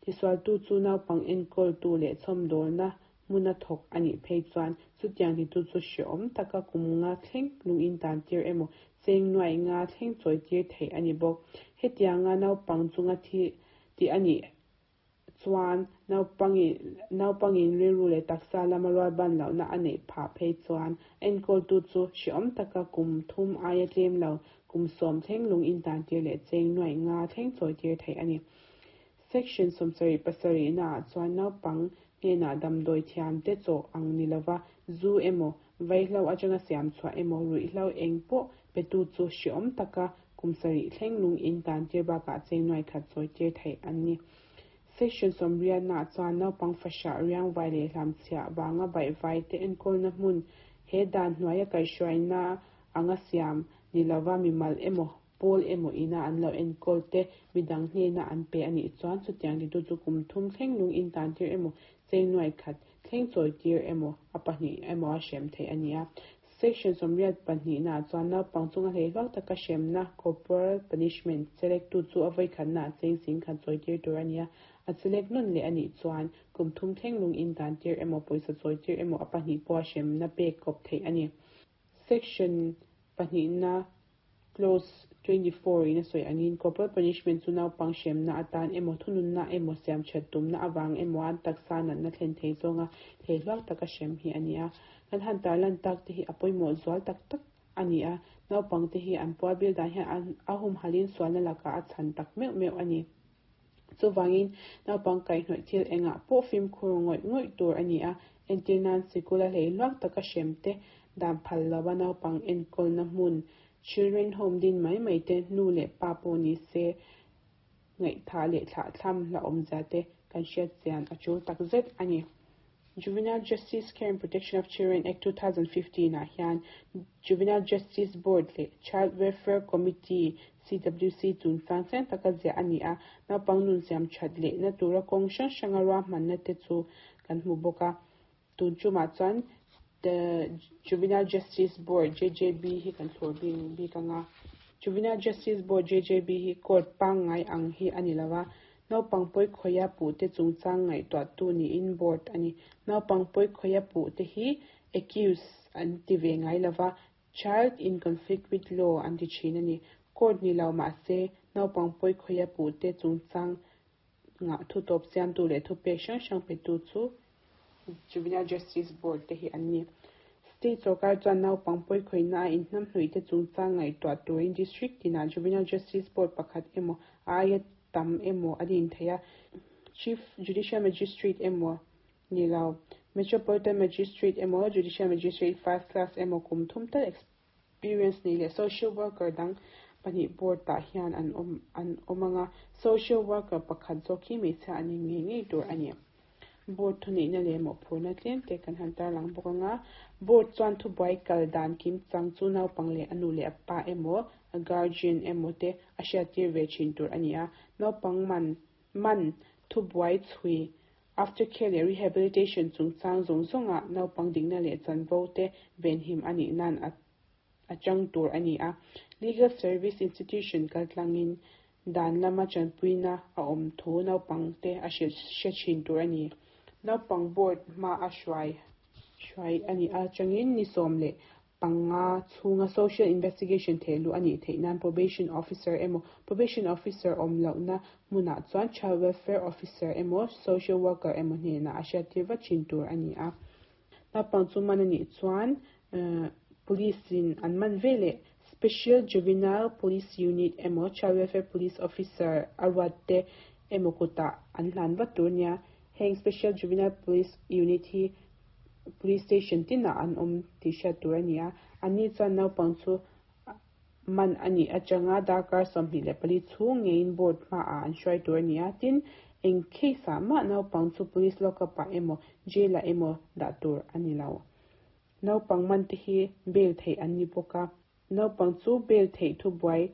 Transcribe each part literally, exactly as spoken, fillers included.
Tisualtu chu naupang enkawltu leh chhawmdawlna hmuna thawk a nih phei chuan chutiang titu chu hrehawm taka kum nga thleng lungin tan tir emaw cheng nuai nga thleng chawi tir theih a ni bawk. Hetianga naupang chunga thi tih a nih chuan naupangin rilru leh taksa lama rualban lohna a neih phah phei chuan enkawltu chu hrehawm taka kum thum aia tlem lo kum sawm thleng lungin tan tir leh cheng nuai nga thleng chawi tir theih a ni. Section sawmsarih pasarih naah chuan naupang hnenah damdawi thiam te chaw ang ni lova zu emaw vaihlo atanga siam chhuah emaw ruihhlo eng pawh petu chu hrehawm taka kum sarih thleng lungin tan tir bakah cheng nuai khat chawi tir theih an ni. Section sawmriat naah chuan naupang fahrah riang vai leh hlamchhiah vanga baihvai te enkawlna hmun he dan hnuaia kaihhruaina anga siam ni lova mimal emaw pawl emaw ina an lo enkawl te midang hnena an pe a nih chuan chutiang titu chu kum thum thleng lungin tan tir emaw cheng nuai khat thleng chawi tir emaw a pahnih emaw a hrem theih a ni a. Section sawmriat pahnih naah chuan naupang chunga hleihluak taka hremna corporal punishment chelektu chu a vawikhatnaah cheng sing khat chawi tir tur a ni a. A chelek nawn leh a nih chuan kum thum thleng lungin tan tir emaw pawisa chawi tir emaw a pahnih pawh a hremna pek kawp theih a ni. Section pahnih na clause twenty four in a sawi angin corporal punishment chu naupang hremna atan emaw thununna emaw siam that tumna awang emaw an taksa natna thlen thei zawnga hleihluak taka hrem hi a ni a. Kan han tarlan tak te hi a pawimawh zual tak tak a ni a. Naupang te hi an pual bil dan hian a humhalin sualna lakah a chhan tak meuh meuh a ni. Chuwangin naupang kaihhnawih thil engah pawh fimkhur ngawih ngawih tur a ni a. Entir nan sikul a hleihluak taka hrem te dan phal lova naupang enkawlna hmun children home din mai mai te nu leh pa pawh ni se ngaihtha leh thlah thlam hla awmzia te kan hriat chian a tul tak zet a ni. Juvenile Justice Care and Protection of Children Act two thousand fifteen ah hian Juvenile Justice Board leh Child Welfare Committee C W C chungchang chiang taka ziah a ni a. Naupang nun siam that leh na tura kawng hrang hranga ruahmanna te chu kan hmu bawk a. Tun tumah chuan the Juvenile Justice Board J J B hi kan thlur bing bik anga. Juvenile Justice Board J J B hi court pangngai ang hi a ni lova. Naupang pawi khawia puh te chungchang ngaihtuah tu niin board a ni. Naupang pawi khawia puh te hi accused an ti ve ngai lova. Child in conflict with law an ti thin a ni. Court ni lo mah se naupang pawi khawia puh te chungchang nga thu tawp siam tu leh thu pek hrang hrang pe tu chu Juvenile Justice Board te hi an ni. State sarkar chuan naupang pawi khawina a inhnam hnuih te chungchang ngaihtuah turin district tinah Juvenile Justice Board pakhat emaw a aia tam emaw a din thei a. Chief Judicial Magistrate emaw ni lo Metropolitan Magistrate emaw Judicial Magistrate first class emaw kum thum tal experience nei leh social worker dang pahnih board tah hian an awm an awm anga. Social worker pakhat zawk hi hmeichhia an ni ngei ngei tur a ni. Board thuneihna leh mawhphurhna tlem te kan han tarlang bawk anga. Board chuan thubuai kal dan kim chang chu naupang leh a nu leh a pa emaw a guardian emaw te a hriat tir ve thin tur a ni a. Naupang man man thubuai chhui aftercare leh rehabilitation chungchang zawng zawnga naupang dikna leh chanvo te venhim a nih nan a a chang tur a ni a. Legal Service Institution kaltlangin dan lama chanpuina a awm thu naupang te a hre thin tur a ni. Naupang board hma a hruai hruai a ni a changin ni sawm leh panga chhunga social investigation thehluh a nih theih nan probation officer emaw probation officer awm lohna hmunah chuan child welfare officer emaw social worker emaw hnenah a hriat tir vat thin tur a ni a. Naupang chu man a nih chuan police in an man ve leh Special Juvenile Police Unit emaw Child Welfare Police Officer a ruat te emaw kutah an hlan vat tur nia. Heng Special Juvenile Police Unit hi police station tinah an awm tih hriat tur a ni a. Ani chuan naupang chu man a nih atanga darkar sawmhnih leh pali chhung ngeiin board hmaah an hruai tur a ni a. Tin, eng case ah mah naupang chu police lockup ah emaw jail ah emaw dah tur a ni lo. Naupang man te hi bail theih an ni bawk a. Naupang chu bail theih thubuai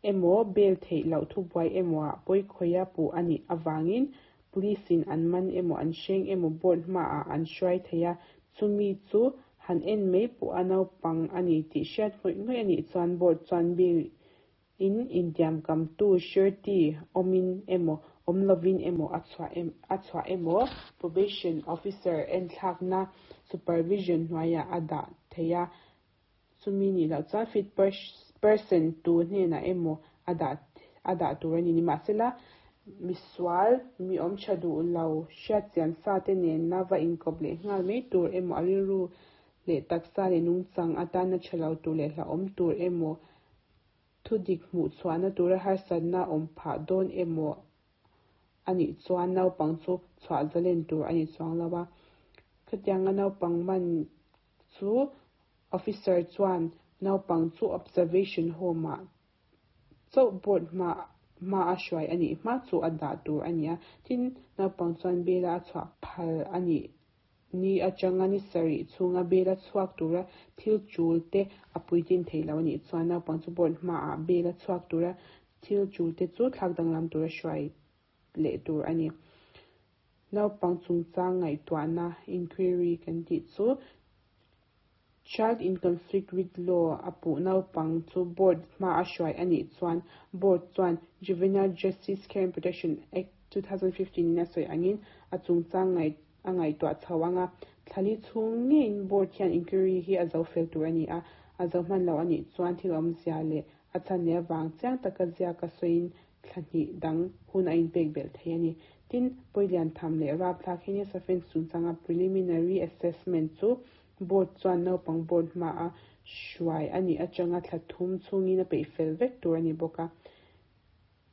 emaw bail theih loh thubuai emaw ah pawi khawia puh a nih awangin police in an man emaw an hreng emaw board hmaah an hruai thei a. Chumi chu han en mai pawh a naupang a ni tih hriat ngawih ngawih a nih chuan board chuan bail in intiam kam tu surety awmin emaw awm lovin emaw a chhuah em a chhuah emaw probation officer enthlakna supervision hnuaiah a dah thei a chumi nih loh chuan fit person tu hnenah emaw a dah a dah tur a ni nimahsela misual mi awm tha duh lo hriat chian sa te nena va inkawp leh nghal mai tur emaw a rilru leh taksa leh nungchang atana tha lo tur leh hlauhawm tur emaw thu dik hmuh chhuahna tura harsatna awm phah dawn emaw anih chuan naupang chu chhuah zalen tur a ni chuang lo a khatianga naupang man chu officer chuan naupang chu observation home ah chauh board hma hma a hruai anih hma chu a dah tur a ni a tin naupang chuan bail a chhuah phal anih ni atanga ni sarih chhunga bail a chhuak tura thil tul te a puitlin thei lo anih chuan naupang chu board hmaah bail a chhuak tura thil tul te chu thlak danglam tura hruai leh tur a ni naupang chungchang ngaihtuahna inquiry kan tih chu child in conflict with law a puh naupang chu board hma a hruai anih chuan board chuan Juvenile Justice Care and Protection Act two thousand fifteen in a sawi angin a chungchang ngaih a ngaihtuah chho anga thlali chhung ngeiin board hian inquiry hi a zo fel tur a ni a a zo hman lo anih chuan thil awmzia leh a chhan leh avang chiang taka ziaka sawiin thlahnih dang hun a inpek belh thei a ni tin pawilian tham leh rapthlak heinous offence chungchanga preliminary assessment chu board chuan naupang board hma a hruai anih atanga thla thum chhungin a peih fel vek tur a ni bawk a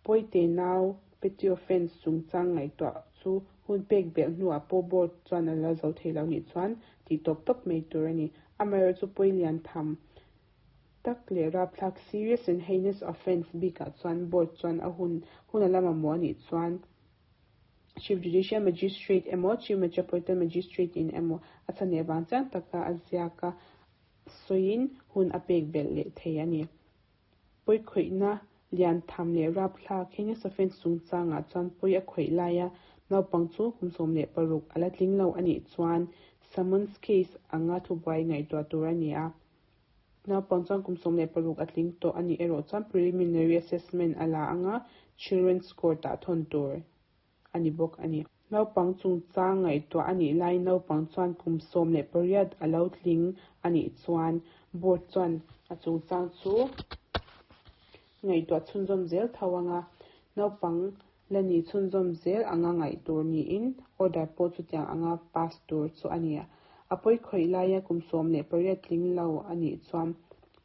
pawite nau petty offence chungchang ngaihtuah chu hun pek belh hnuah pawh board chuan a la zo thei lo nih chuan tih tawp tawp mai tur a ni amaherawhchu chu pawilian tham tak leh rapthlak serious and heinous offence bikah chuan board chuan a hun hun a la mamawh anih chuan Chief Judicial Magistrate emaw Chief Metropolitan Magistrate in emaw a chhan leh vang chiang taka a ziaka sawiin hun a pek belh leh thei a ni pawi khawihna lian tham leh rapthlak heinous offence chungchangah chuan pawi a khawih laia naupang chu kum sawm leh paruk a la tling lo anih chuan summons case anga thubuai ngaihtuah tur a ni a naupang chuan kum sawm leh paruk a tling tawh anih erawh chuan preliminary assessment a la anga children's court ah thawn tur a ni bawk a ni naupang chungchang ngaihtuah anih laiin naupang chuan kum sawm leh pariat a lo tling anih chuan board chuan a chungchang chu ngaihtuah chhunzawm zel tho anga naupang la ni chhunzawm zel anga ngaih tur niin order pawh chutiang anga pass tur chu a ni a pawi khawih laia kum sawm leh pariat tling lo anih chuan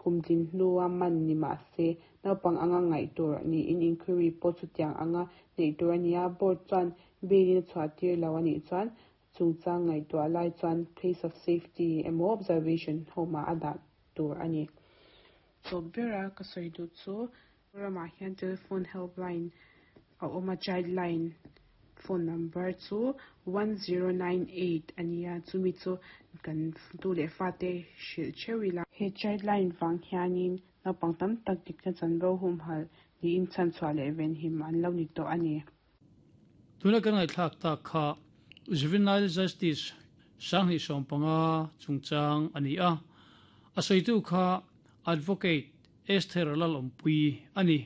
kum tlin hnua man ni mahse naupang anga ngaih tur niin inquiry pawh chutiang anga neih tur a ni a board chuan bail in a chhuah tir lo anih chuan chungchang ngaihtuah lai chuan place of safety emaw observation home ah a dah tur a ni tawp bera ka sawi duh chu ramah hian telephone helpline a awm a childline phone number chu one zero nine eight a ni a chumi chu kan tu leh fate hrilh theuh ila he childline vang hianin naupang tam tak dikna chanvo humhalh niin chhanchhuah leh venhim an lo ni tawh a ni. Tuna kan ngaihthlak tak kha Juvenile Justice sanghnih sawm panga chungchang a ni a a sawitu kha Advocate Esther Lalawmpui a ni.